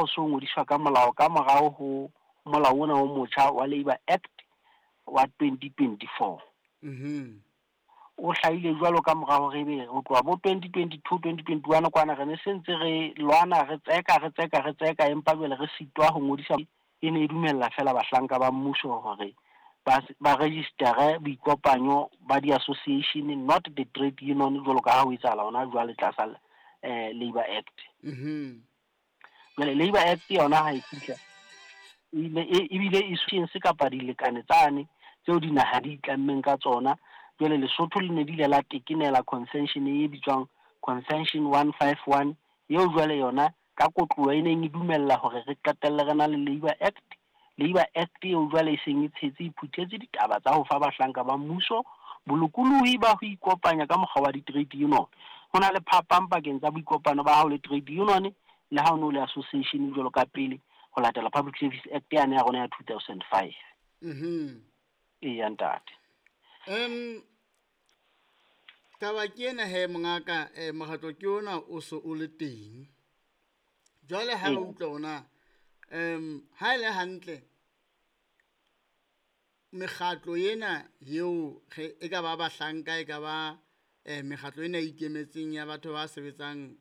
o so ngodiswa ka molao ka morao ho molao ona o motjha wa Labour Act wa 2024. O hlahile jwalo ka mora hore ebe ho tloha bo 2022, 2021 kwana re ne se ntse re lwana, re tseka, re tseka, re tseka, empa jwale re sitwa ho ngodisa. E ne e dumella fela bahlanka ba mmuso hore ba registere boikopanyo ba di-association, not the trade union, jwalo ka ha ho etsahala hona jwale tlasa Labour Act. Jwale Labour Act yona ha e fihla, ebile e se kapa dilekane tsane tseo dinaha di itlammeng ka tsona. Jwale Lesotho le ne di ile la tekenela convention e bitswang Convention 151, eo jwale yona ka kotluwa e neng e dumella hore re qetelle re na le Labour Act. Labour Act eo jwale e seng e tshetse, e phuthetse ditaba tsa ho fa bahlanka ba mmuso bolokolohi ba ho ikopanya ka mokgwa wa di-trade union. Ho na le phapang pakeng tsa boikopano ba hao le trade union le ha o no le association jwalo ka pele, ho latela Public Service Act yane ya rona ya 2005. Eya ntate. Taba ke ena he mongaka, mokgatlo ke ona o so o le teng. Jwale ha re utlwa ona, ha e le hantle mekgatlo ena eo e ka ba bahlanka, e ka ba mekgatlo ena e ikemetseng ya batho ba sebetsang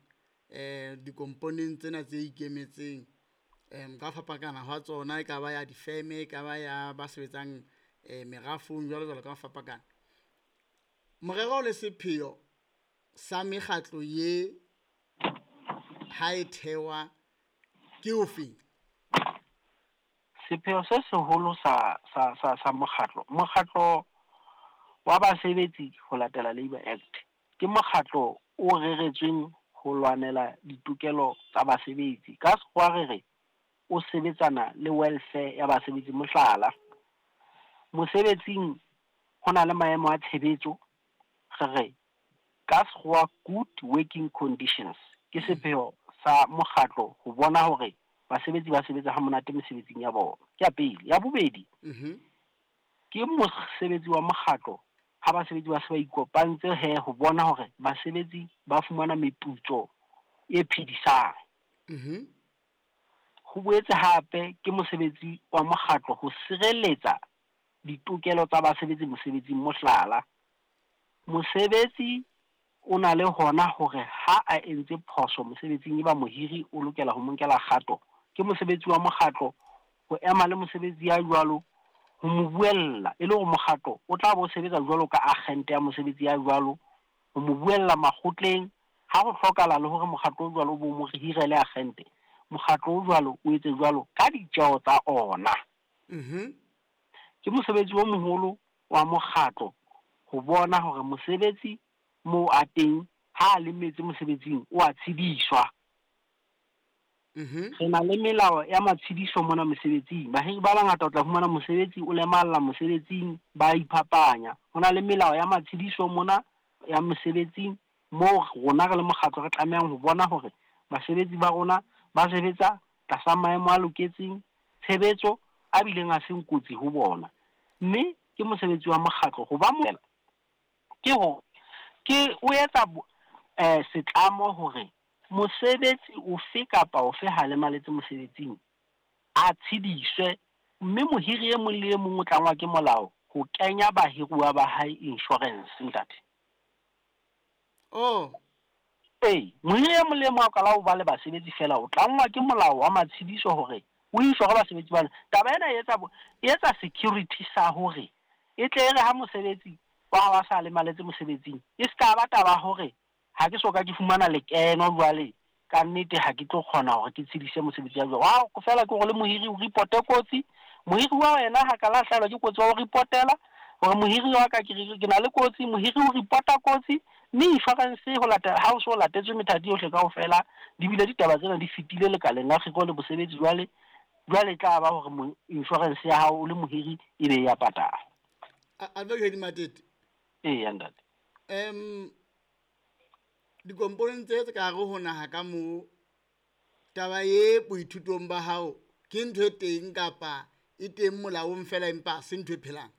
dikomponeng tsena tse ikemetseng, ka fapakana hwa tsona, e ka ba ya difeme, e ka ba ya ba sebetsang merafong, jwalo jwalo ka fapakana. Morero le sepheo sa mekgatlo ye ha e thewa ke ofe? Sepheo se seholo sa mokgatlo, mokgatlo wa basebetsi ho latela Labour Act, ke mokgatlo o reretsweng ho lwanela ditokelo tsa basebetsi. Ka sekgowa re re o sebetsana le welfare ya basebetsi. Mohlala, mosebetsing ho na le maemo a tshebetso, re re ka sekgowa good working conditions. Ke sepheo sa mokgatlo ho bona hore basebetsi ba sebetsa ha monate mesebetsing ya bona. Ke ya pele. Ya bobedi, ke mosebetsi wa mokgatlo ha basebetsi ba se ba ikopantse he ho bona hore basebetsi ba fumana meputso e phedisang. Ho boetse hape ke mosebetsi wa mokgatlo ho sireletsa ditokelo tsa basebetsi mosebetsing. Mohlala, mosebetsi o na le hona hore ha a entse phoso mosebetsing, eba mohiri o lokela ho mo nkela kgato. Ke mosebetsi wa mokgatlo ho ema le mosebetsi ya jwalo, ho mo buella, e le hore mokgatlo o tla bo sebetsa jwalo ka agente ya mosebetsi ya jwalo, ho mo buella makgotleng ha ho hlokahala, le hore mokgatlo o jwalo o bo mo hirele agente. Mokgatlo o jwalo o etse jwalo ka ditjeho tsa ona. Ke mosebetsi o moholo wa mokgatlo ho bona hore mosebetsi moo a teng ha a lemetse mosebetsing o a tshediswa. Re na le melao ya matshediso mona mosebetsing. Bahiri ba bangata o tla fumana mosebetsi o lemalla mosebetsing, ba iphapanya. Ho na le melao ya matshediso mona ya mosebetsing moo rona re le mokgatlo re tlamehang ho bona hore basebetsi ba rona ba sebetsa tlasa maemo a loketseng tshebetso, a bileng a seng kotsi ho bona. Mme ke mosebetsi wa mokgatlo ho ba ke ho ke o etsa setlamo hore mosebetsi ofe kapa ofe ha lemaletse mosebetsing a tshediswe, mme mohiri e mong le e mong o tlangwa ke molao ho kenya bahiruwa ba hae insurance, ntate. Oh. Ee, mohiri e mong le e mong a qala ho ba le basebetsi fela, o tlangwa ke molao wa matshediso hore o insure basebetsi bana. Taba ena e etsa security sa hore e tle e re ha mosebetsi wa hao a sa lemaletse mosebetsing, e ska ba taba hore ha ke soka ke fumana lekeno jwale ka nnete ha ke tlo kgona hore ke tshedise mosebetsi wa jwalo. Wa fela ke hore le mohiri o reporte kotsi, mohiri wa wena ha ka la hlahelwa ke kotsi wa o reportela hore mohiri wa ka ke na le kotsi, mohiri o reporta kotsi, mme insurance ho latela ha o so latetswe methati yohle kaofela, di bile ditaba tsena di fetile lekaleng la kgiro le bosebetsi jwale, jwale tla ba hore insurance ya hao o le mohiri e be ya patala. Advocate Matete. Ee, ntate. Dikomponeng tse ka hare ho naha ka moo, taba e boithutong ba hao ke ntho e teng kapa e teng molaong fela empa se ntho e phelang?